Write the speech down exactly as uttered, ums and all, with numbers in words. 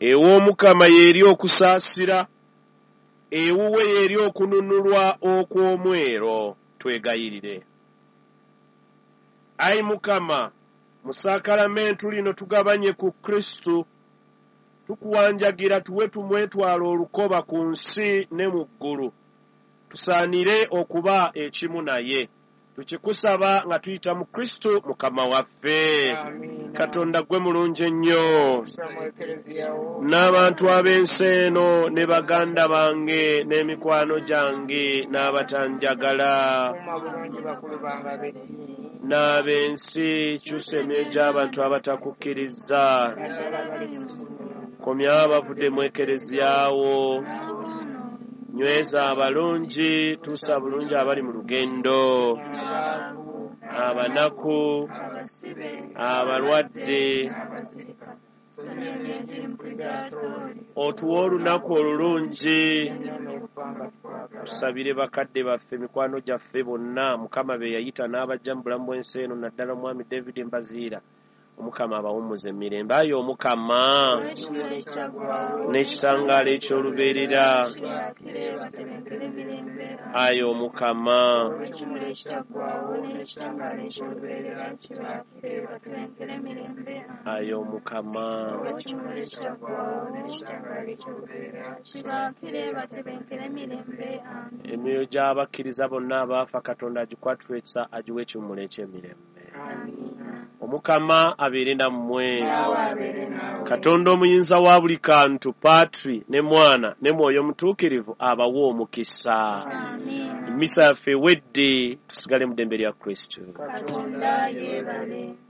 Ew'Omukama y'eri okusaasira, ewuwe y'eri okununulwa okw'omwero. Twegayirire. Ayi Mukama, mu saakalamentu lino tugabanye ku Kristu, tukuwanjagira tuwe tumwetwala olukoba ku nsi ne mu ggulu, tusaanire okuba ekimu naye. Tukikusaba nga tuyita mu Kristu Mukama waffe. Katonda gwe mulungi ennyo, n'abantu ab'ensi eno ne baganda bange n'emikwano gyange n'abatanjagala n'ab'ensi, kyusa emyoyo gy'abantu abatakukkiriza, komya abavudde mu ekereziyawo, nyweza abalungi, tuusa bulungi abali mu lugendo, abanaku, abalwadde, otuwe olunaku olulungi. Tusabire bakadde baffe, mikwano gyaffe bonna Mukama be yayita n'abajja mu bulamu bw'ensi eno, naddala omwami David Mbaziira. Omukama abawummuze emirembe. Ayi Omukama, n'ekitangaala eky'olubeerera. Ayi Omukama, ayi Omukama, emyoyo gy'abakkiriza bonna abaafa Katonda agikwatulwe ekisa, agiwe ekiwummulo eky'emirembe. Omukama abeere nammwe. Katonda omuyinza wa buli kantu, Patri ne Mwana ne Mwoyo Mutuukirivu, abawe omukisa. Emisa yaffe ewedde, tusigale mu ddembe lya Kristo. Katonda yeebale.